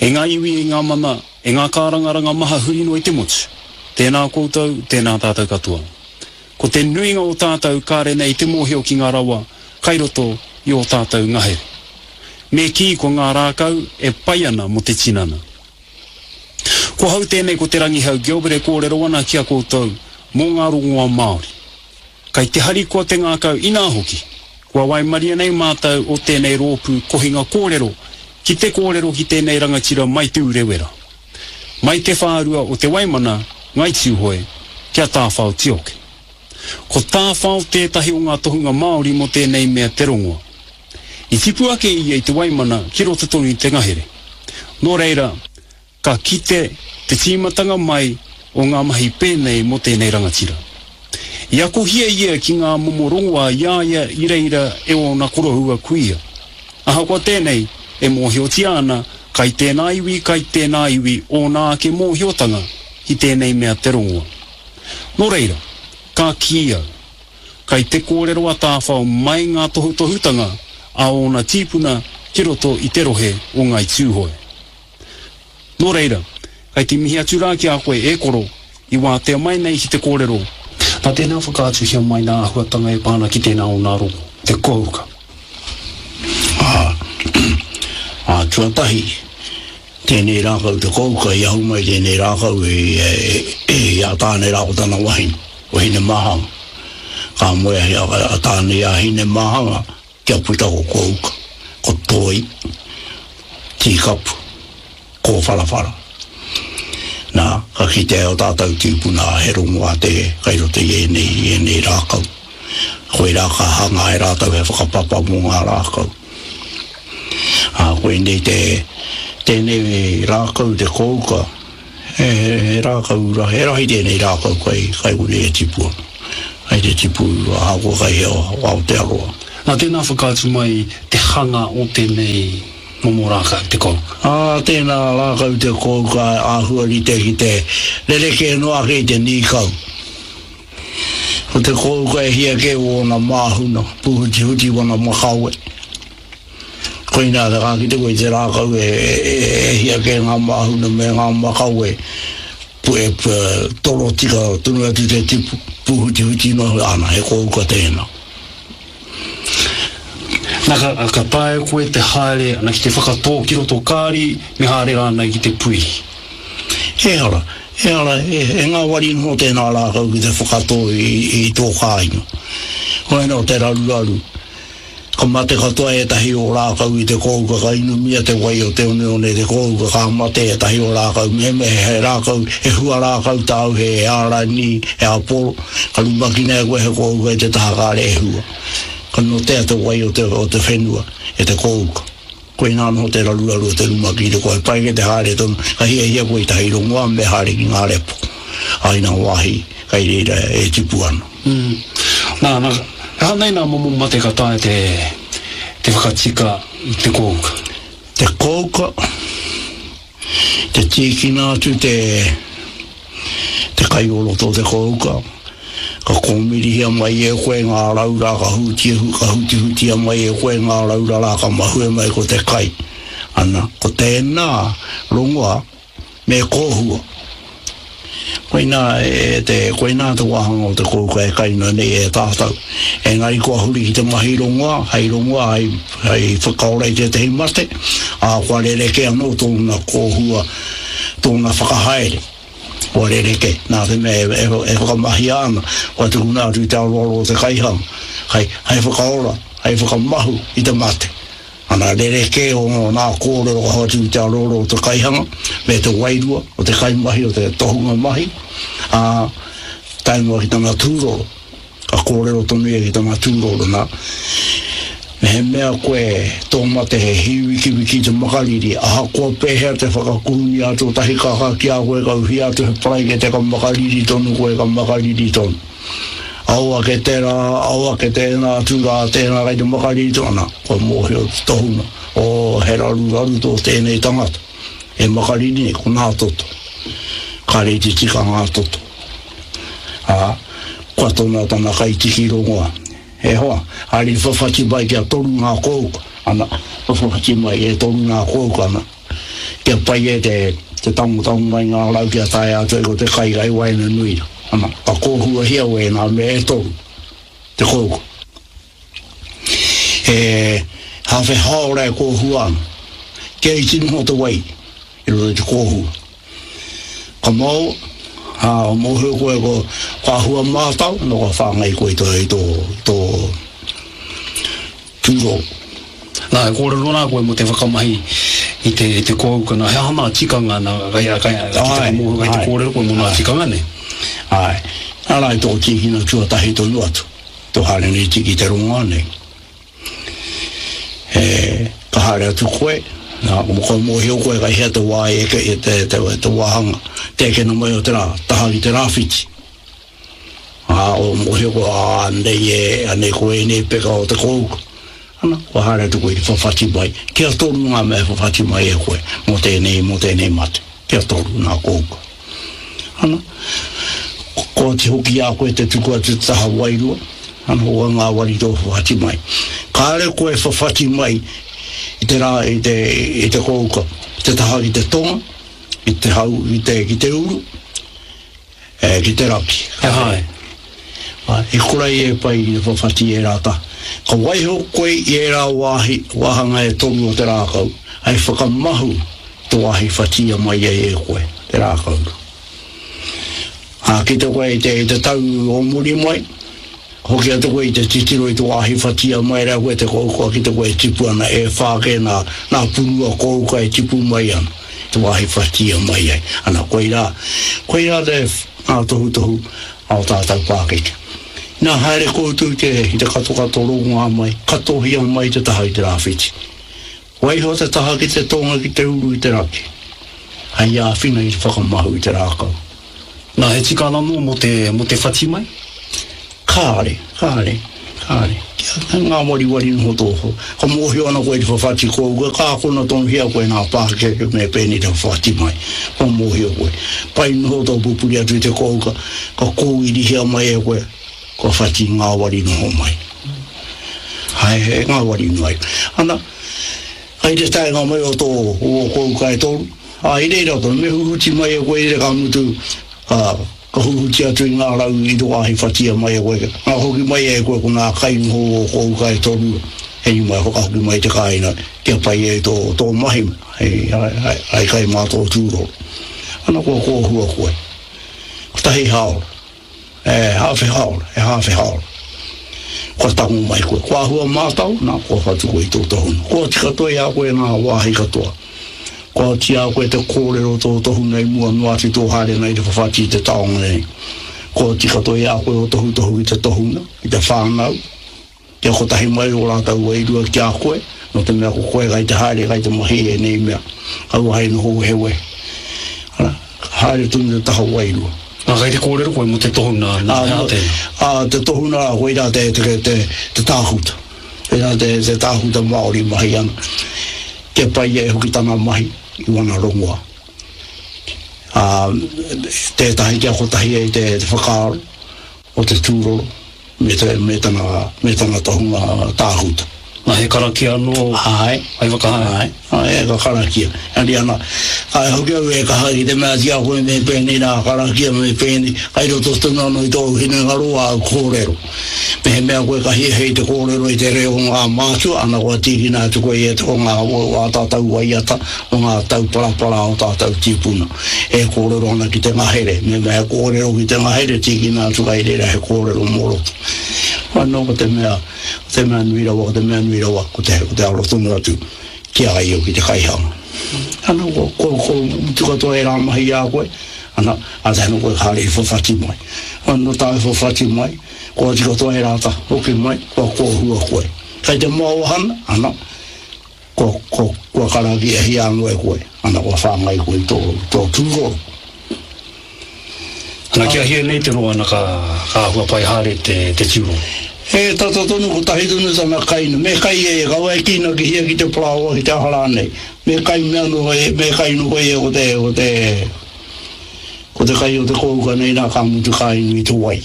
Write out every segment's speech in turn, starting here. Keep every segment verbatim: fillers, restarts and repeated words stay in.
E ngā iwi, e ngā mana, e ngā kārangaranga maha huri noa i te motu. Tēnā koutou, tēnā tātou katoa. Ko te nuinga o tātou kāre nei te mōhio ki ngā rawa kai roto i ō tātou ngahere. Me kī ko ngā rākau e pai ana mō te tinana. Ko hau tēnei ko Te Rangihau Gilbert e kōrero ana ki a koutou mō ngā rongoa Māori. Kai te harikoa te ngākau inā hoki, kua waimaria nei mātou o tēnei rōpū kohinga kōrero ki te kōrero ki tēnei rangatira mai Te Urewera. Mai te whārua o Te Waimana, Ngai Tūhoe, kia Tāwhao Tioke. Ko Tāwhao tētahi o ngā tohunga Māori mō tēnei mea te rongoa. I tipu ake ia i Te Waimana ki roto tonu i te ngahere. Nō reira, ka kite te tīmatanga mai o ngā mahi pēnei mō tēnei rangatira. I akohia ia ki ngā momo rongoa i a ia i reira e ōna koroua kuia. Ahakoa tēnei, e mōhiotia ana, kai tēnā iwi, kai tēnā iwi ōna ake mōhiotanga ki tēnei mea te rongoa. Nō reira, ka kī au, kai te kōrero a Tāwhao mai ngā tohutohutanga a ōna tīpuna ki roto i te rohe o Ngai Tūhoe. Nō reira, kai te mihi atu rā ki a koe e koro, i wātea mai nei ki te kōrero. Nā tēnā whakaatuhia mai nā āhuatanga e pā ana ki tēnā o nā rongo, te kouka. Ā, ā, tuatahi, tēnei rākau te kouka, i ahu mai tēnei rākau i, i, i a Tāne rā ko tana wahine, ko Hinemāhanga. Ka moe a, a Tāne i a Hinemāhanga, kia puta ko kouka, ko toi, tīkapu, kōwharawhara. Nā, ka kitea e o tātou tīpuna he rongoā te kai roto i ēnei, i ēnei rākau. Koirā ka hanga e rātou he whakapapa mō ngā rākau. Ā, koinei te, tēnei rākau te kouka, he, he, he rākau, he rahi tēnei rākau kai, kai konei e tipu ana. Kai te tipu ahakoa kai hea o Aotearoa. Nā, tēnā whakaatu mai te hanga o tēnei momo rākau, te kouka. Ā, tēnā rākau te kouka āhua rite ki te rerekē noa ake i te nīkau. Ko te kouka e hia kē ōna māhuna, pūhutihuti wana makawe. Koinā te ka kite koe i te rākau e, e, e hia kē ngā māhuna me ngā makawe, pu, e, pu, toro tika tonu atu te tipu, pūhutihuti noa, ana, he kouka tēnā. Nā, ka, ka taea koe te haere ana ki te whakatō ki roto kāri, me haere rānei ki te puihi. Ehara, ehara, e, e ngāwari noa tēnā rākau ki te whakatō i, i tō kāinga. Koinā te raruraru. Ka mate katoa ētahi o rākau i te kouka, ka inumia te wai o te oneone te kouka, ka mate ētahi o rākau. Mehemea he rākau, he hua rākau tāu, he ārani, he āporo, ka rumakina e koe he kouka i te taha kāre e hua. Ka notea te wai o te, o te whenua e te kouka. Koinā noho te raruraru o te rumaki i te koe pai ke te haere tonu, ka hiahia koe i tahi rongoā me haere ki ngā repo, ā, i ngā wāhi kai reira e tipu ana. Mm. Nā, nā, he aha nei nā momo mate ka taea te, te whakatika i te kouka? Te kouka, te tīkina atu te, te kai o roto o te kouka, ka kōmirihia mai e koe ngā raura, ka hūtia, ka hutihutia mai e koe ngā raura rā, ka mahue mai ko te kai. Ana, ko tēnā rongoa me kōhua. Koinā e te, koinā te wāhanga o te kouka e kaina nei e tātou. Engari kua huri ki te mahi rongoa, hei rongoa, hei, hei whakaora i tētehi mate, ā, kua rerekē anō tōna kōhua, tōna whakahaere. Kua rerekē, nā te mea e, e, e whakamahia ana, kua tukuna atu i te aroaro o te kaihanga, hei, hei whakaora, hei whakamahu i te mate. Ana rerekē o ngā kōrero ka hoatu i te aroaro o te kaihanga, me te wairua o te kaimahi, o te tohunga mahi, ā, tae noa ki tana tūroro. Ka kōrero tonu ia ki tana tūroro nā. Mehemea koe tō mate he hīwikiwiki te makariri, ahakoa pēhea te whakakuhunia atu o tahi kākā ki a koe ka uhia atu he paraikete ka makariri tonu koe, ka makariri tonu. Ao ake tērā, ao ake tēnā atu rā, tēnā kai te makariri tonu, ana, kua mōhio te tohunga, oh, he raruraru tō tēnei tangata, e makariri nei, ko ngā toto. Kāre i te tika ngā toto. Ā, kua tona tana kaitiki rongoa. E hoa, haere i whawhati mai kia toru ngā kouka, ana, whawhati mai e toru ngā kouka, ana. Kia pai e te, te tango tango mai ngā rau kia tae atu ai ko te kai kai waina nui. Ana, ka kōhuahia o nā mea e toru, te kouka. E hawhe haora e kōhua ana, kia iti noho te wai, i roto i te kōhua. Ka mau, ha, mōhio koe ko, ko ahua mātau, no ka whāngai koe i tō, i tō, tō tūroro. Nā, e kōrero nā koe mo te whakamahi i te, i te kōuka, nā, he aha nā tikanga, nā, kai, kai, ki te whakamōhio kai te kōrero koe mo nā tikanga nei. Ai, nā rā i tō tīkina tuatahi tonu atu, tō haere nei tiki te rongoa nei. E, ka haere atu koe, nā, ko mōhio koe kai hea te wā e te, te, te, te wāhanga, te ekena mai o te rā, taha ki te rāwhiti. Ā, o mōhio koe, ā, nei e, anei ko ēnei peka o te kōuka. Ana, kua haere atu koe i te whawhati mai, kia toru ngā mea whawhati mai e koe, mō tēnei, mō tēnei mate, kia toru ngā kōuka. Ana, ko te hoki a koe te tuku atu te taha wairua, ana, o ngā wari tō whawhati mai. Kāre koe whawhati mai i te rā, i te, i te kōuka, te taha ki te tonga, i te hau, i te, ki te uru, e, ki te raki. He hae. I kura i e pai i te whawhati e rāta. Ka waiho koe i e rā wāhi, wāhanga e toru o te rākau, hei whakamahu te wāhi whatia mai ai e koe, te rākau. Ā, ki te koe i te, i te tau o muri mai, hoki atu koe i te titiro i te wāhi whatia mai rā koe te kouka ki te koe e tipu ana e whāke nā, nā purua kouka e tipu mai ana, te wāhi whatia mai ai. Ana, koe rā, koe rā te ngā tohutohu ao tātou pākeke. Nā haere koutou te, i te kato kato rongoa mai, katohia mai te taha i te rāwhiti. Waiho te taha ki te tonga ki te uru i te raki. Hei āwhina i te whakamahu i te rākau. Nā, he tikanga anō mō te, mō te whati mai? Kāre, kāre, kāre. Kia ngā wariwari noho tōho. Ka mōhio ana koe i te whawhati kouka, ka akona tonuhia koe nā pākeke me pēnei te whawhati mai. Ka mōhio koe. Pai noho tō pupuri atu i te kouka, ka kōirihia mai e koe, kua whati ngā wari noho mai. Hai, he ngā wari noa. Ana, kai te taenga mai o tō o kouka e toru, a i reira tonu, me huhuti mai e koe i reira ka mutu, ka, ka huhuti atu i ngā rau i tō wāhi whatia mai e koe, ngā hoki mai e koe ko ngā kai noho o kouka e toru, hei mai whakahoki mai te kāinga, kia pai e tō, tō mahi, hei, hei, hei kai mā tō tūroro. Ana kua kōhua koe. Kotahi haora. E hawhe haora, e hawhe haora. Kua tango mai koe. Kua ahua mātau, nā, kua whatu koe i tō tohuna. Kua tika toi a koe ngā wāhi katoa. Kua oti a koe te kōrero tō tohuna i mua noa atu tō haere nei te whawhati i te taonga nei. Kua tika toi a koe o tohutohu i te tohuna, i te whānau, kia kotahi mai o rātou wairua ki a koe, no te mea ko koe kai te haere, kai te mahi e nei mea. Kaua hei noho wehewehe. Ara, haere tonu te taha wairua. Nā, kai te kōrero koe mo te tohuna, nā, Ā, hea tēnā? Ā, te tohuna rā, koe rā te, te, te, te tāhuta. Koe rā te, te tāhuta Māori mahi ana. Kia pai e hoki tana mahi i wana rongoa. Ā, tētahi kia kotahi ai te, te whakaaro o te tūroro me, te, me, tana, me tana tohunga tāhuta. Nā, he karakia anō Ai. hei whakahaere. Ai, ai, e ka karakia. Ari ana, kai hoki au e kaha ki te mea ati a koe me pēnei nā karakia me pēnei, kai roto tonu anō i tōu hinengaro āu kōrero. Me he mea koe ka hiahia i te kōrero i te reo o ngā mātua, ana kua tīkina atu koe i e o ngā o ā tātou waiata, o ngā tau parapara o tātou tīpuna. E kōrero ana ki te ngahere, me mea he kōrero ki te ngahere, tīkina atu kai reira he kōrero mō roto. Anō ko te mea, ko te mea nui rawa, ko te mea nui rawa, ko te, ko te aro tonu atu ki a ia ki te kaihanga. Ana, ko, ko, ko mutu katoa e rā mahi i a koe, ana, a te hano koe haere i whawhati mai. Anō tā i whawhati mai, ko ati katoa e rāta, hoki mai, kua kōhua koe. Kai te maohana, ana, kua, kua, kua karakia hia anō e koe, ana, kua whāngai koe i tō, tō tūroro. Ana kia hia nei te roa, ana ka, ka ahua pai haere te, te tūroro. E tata tonu ko tahi tonu tana kaina, me kai e, kaua e kina ki hia ki te parāoa ki te aha rānei. Me kai mea noho e, me kai noho e ko te, ko te, ko te kai o te kouka nei nā ka mutu ka inu i te wai.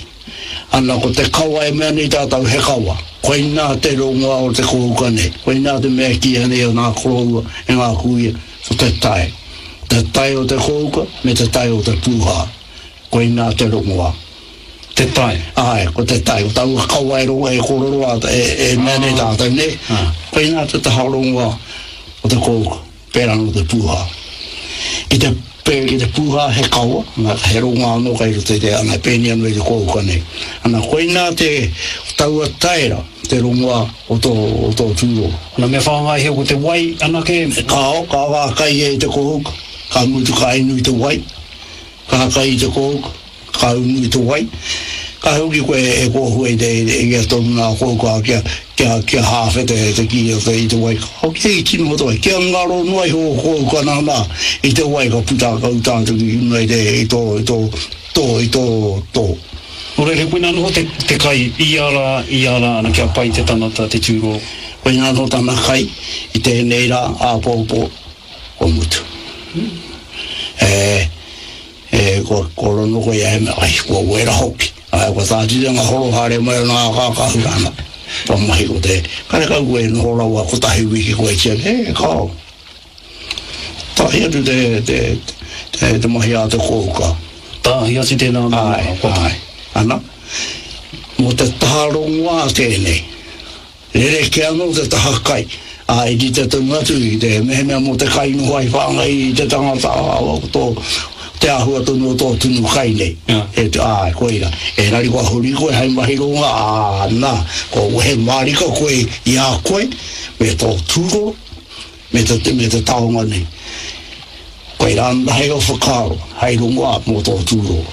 Ana ko te kawa e mea nei tātou he kawa. Koinā te rongoa o te kouka nei. Koinā te mea kīia nei o ngā koroua e ngā kuia, ko te tae. Te tae o te kouka me te tae o te pūhā. Koinā te rongoa. Te tae? Āe, ko te tae. Ko taua kawa e rongo, e kōrero a, e, e mea nei tātou nei. Koinā te taha rongoa o te kouka, pērā nō te pūhā. Ki te, ki te pūhā he kawa, ana, he rongoa anō kai roto i te, ana, pēnei anō i te kouka nei. Ana, koinā te, taua taera, te rongoa o tō, o tō tūroro. Ana, me whāngai hea ko te wai anake? Kāo, ka wā kai e te kouka, ka mutu ka inu i te wai, ka kai i te kouka, ka unu i te wai, ka hoki koe e kōhua i te, i a tonu ngā kouka kia, kia, kia hāwhe te, te kī o te, i te wai. Ka hoki i tino te wai, kia ngaro noa iho o kouka nā nā, i te wai ka puta ka uta atu ki runga i te, i tō, i tō, tō, i tō, tō. Nō reira, koinā noho te, te kai i ia rā, i ia rā, ana kia pai te tangata, te tūroro. Koinā noho tana kai i tēnei rā, āpōpō, kua mutu. E, e, kua, kua rono koe ia he mea, ai, kua wera hoki. Ai, kua tātiri ngā horo haere mai o ngā kākahu rāna. Kua mahi ko te, karekau koe e noho rawa kotahi wiki koe tiaki, e, kāo. Tāhi atu te, te, te, te mahi a te kouka. Tāhi atu tēnā anō. Āe, āe. Ana, mō te taha rongoā tēnei. Rerekē anō te taha kai. Ā, i rite tonu atu i te mehemea mō te kai noho ai whāngai i te tangata, ā, tō, te āhua tonu o tō tunu kai nei. E, āe, koira. Engari kua huri koe hei mahi rongoā, ā, nā, kua wehe mārika koe i a koe, me tō tūroro, me te, me te taonga nei. Koirā hei o whakaaro, hei rongoā mō tō tūroro.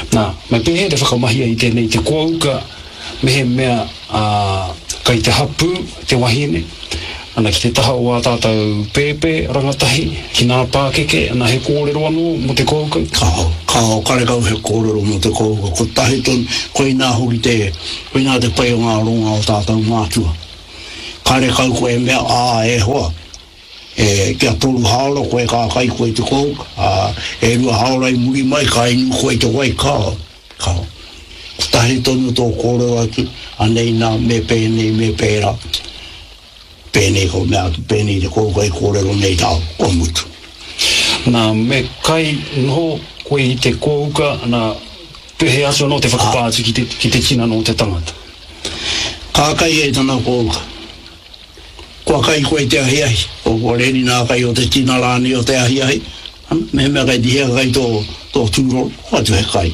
Nā, me pēhea te whakamahia i tēnei te kouka, mehemea, ā, kai te hapū te wahine, ana ki te taha o ā tātou pēpē, rangatahi, ki ngā pākeke, ana he kōrero anō mō te kouka? Kāo, kāo, karekau he kōrero mō te kouka, kotahi tonu, koinā hoki te, koinā te pai o ngā rongoā o tātou mātua. Karekau koe e mea, ā, e hoa, e, kia toru hāora koe ka kai koe i te kouka, ā, e rua hāora i muri mai ka inu koe i te wai, kāo, kāo. Kotahi tonu tō kōrero atu, anei nā, me pēnei, me pērā. Pēnei ko mea atu, pēnei te kouka i kōrero nei tāu, kua mutu. Nā, me kai noho koe i te kouka, nā, pēhea atu anō te whakapā atu ki te, ki te tinana o te tangata? Ka kai e tana kouka. Kua kai koe i te ahiahi, o kua reri nā kai o te tina rānei o te ahiahi, ana, mehemea kai te hea kai tō, tō tūroro, kua atu he kai.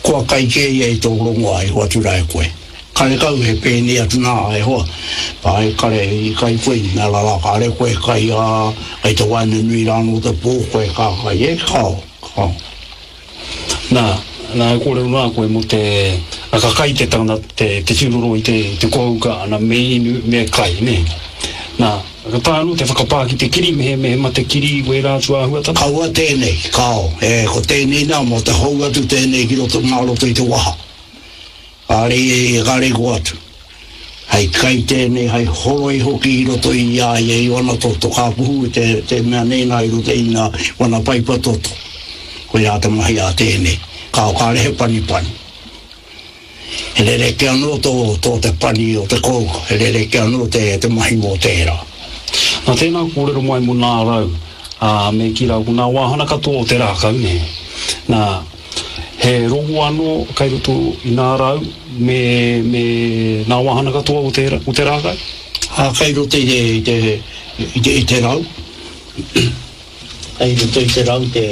Kua kai kē ia i tō rongoā i hoatu rā e koe. Karekau he pēnei atu nā, e hoa, pai kare i kai koe, nā la rā kāre koe kai, ā, kai te waenganui rānō te pō koe ka kai, e kāo, kāo. Nā, nā, e kōrero nā koe mō te, nā, ka kai te tangata, te, te tūroro i te, te kouka, ana, me inu, me kai, nē. Nā, ka taea anō te whakapā ki te kiri, me he, me he mate kiri, wērā atu āhuatanga? Kaua tēnei, kāo, e, ko tēnei nā, mō te hou atu tēnei ki roto, ngā roto i te waha. Kāre i, kāre i kō atu. Hei kai tēnei, hei horoi hoki i roto i a ia i wana toto, ka kuhu te, te mea nei nā i roto i ngā wana paipa toto. Koirā te mahi a tēnei. Kāo kāre he panipani. He rerekē anō tō, tō te pani o te kouka, he rerekē anō te, te mahi mō tērā. Nā tēnā kōrero mai mō nā rau, ā, me kī rā ko nā wāhana katoa o te rākau, nē. Nā, he rongo anō kei roto i nā rau me, me nā wāhana katoa o te, o te rākau? Ā, kei roto i te, i te, i te, i te rau. Kei roto i te rau te,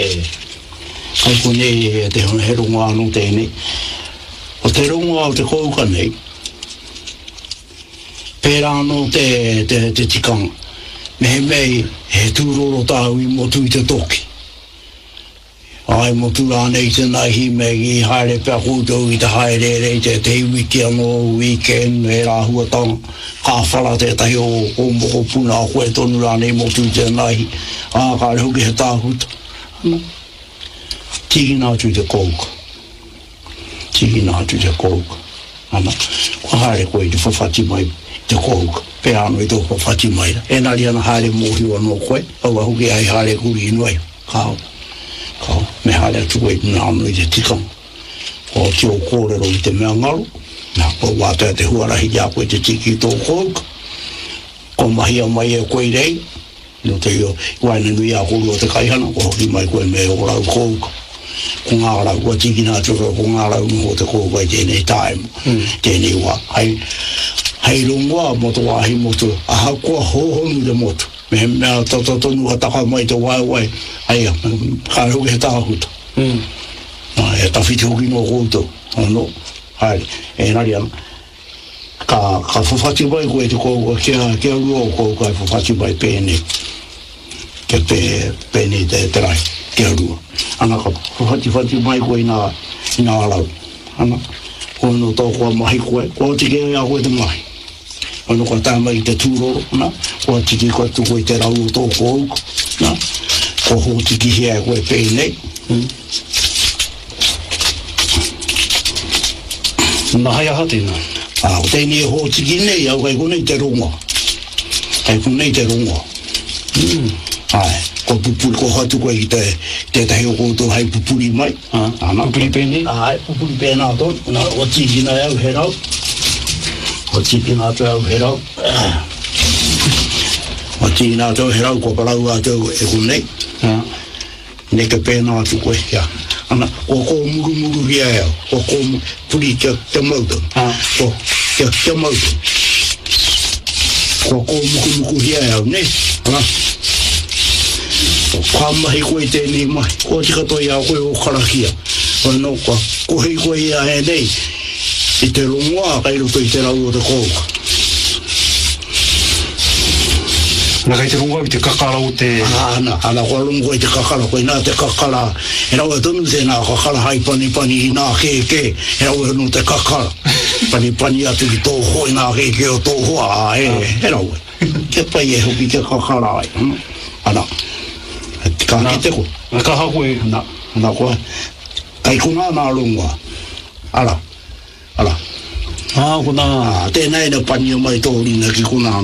kei konei te, he rongo anō tēnei. Ko te rongoa o te kouka nei, pērā anō te, te, te tikanga. Mehemea he tūroro tāu i motu i te toki. Ai motu rānei te naihi me i haere pea koutou i te haereere i te, te wiki anō, weekend, he rāhuatanga, ka whara tētahi o, o mokopuna a koe tonu rānei motu i te naihi, ā, kāre hoki he tākuta. Ana, tīkina atu i te kouka. Tīkina atu i te kouka. Ana, kua haere koe i te whawhati mai i te kouka, pērā anō i tō whawhati mai rā. Engari ana haere mōhio anō koe, kaua hoki ai haere kuri noa iho. Kāo, kāo, me haere atu koe i te nā anō i te tikanga. Kua oti ō kōrero i te mea ngaro, nā, kua wātea te huarahi ki a koe te tiki i tō kōuka. Kua mahia mai e koe i reira, i roto i waenganui i a kōrua te kaihana, kua hoki mai koe me ō rau kōuka. Ko ngā rau, kua tīkina atu koe, ko ngā rau noho o te kōuka i tēnei tāima, tēnei wā. Hei, hei rongoā mō te wāhi motu, ahakoa hōhonu te motu, mehemea tata tonu ka taka mai te waewae, hei, kāre hoki he tākuta. Nā, e tawhiti hoki nō koutou, anō, haere, engari ana, ka, ka whawhati mai koe i te kouka, kia, kia rua o kouka e whawhati mai pēnei, kia pē, pēnei te, te rahi, kia rua. Ana, ka whawhatiwhati mai koe i ngā, i ngā rau. Ana, koe nō tō kua mahi koe, kua oti kē i a koe te mahi. Ano kua tae mai ki te tūroro, na, kua tiki koe atu koe i te rau o tō kōuka, na, kua hōtikihia e koe pēnei. Na, hei aha tēnā? Ā, ko tēnei e hōtiki nei au kei konei te rongoa. Kei konei te rongoa. Āe, kua pupuri, kua hoatu koe ki te, tētahi o koutou hei pupuri mai. Ā, Ana. Pupuri pēnei? Āe, pupuri pēnā tonu. Na, kua tīkina e au he rau. Kua tīkina atu e au he rau. Kua tīkina atu au he rau, kua parau atu au e konei. Ā. Neke pēnā atu koe, kia. Ana, kua kōmurumuruhia e au, kua kōmu, puri kia, kia mau tonu. Ā. Kua, kia, kia mau tonu. Kua kōmukumukuhia e au, nē? Ana. Ka mahi koe i tēnei mahi, kua oti katoa i a koe ō karakia. Anō, kua kohi koe i a ēnei i te rongoā kei roto i te rau o te kōuka. Ana, kei te rongo au i te kakara o te. Ana, ana, kua rongo koe i te kakara, koinā te kakara, he rawe tonu tēnā kakara hai panipani i nā kēkē, he rawe anō te kakara, panipani atu ki tō hoa, i ngā kēkē o tō hoa, ā, e, he rawe. Kia pai e hoki kia kakara ai. Ana, ka kite koe. Ana, ka aha koe? Ana, ana koa, kei konā nā rongoā, ara, ara. Ā, konā. Ā, tēnā ina pania mai tō ringa ki konā.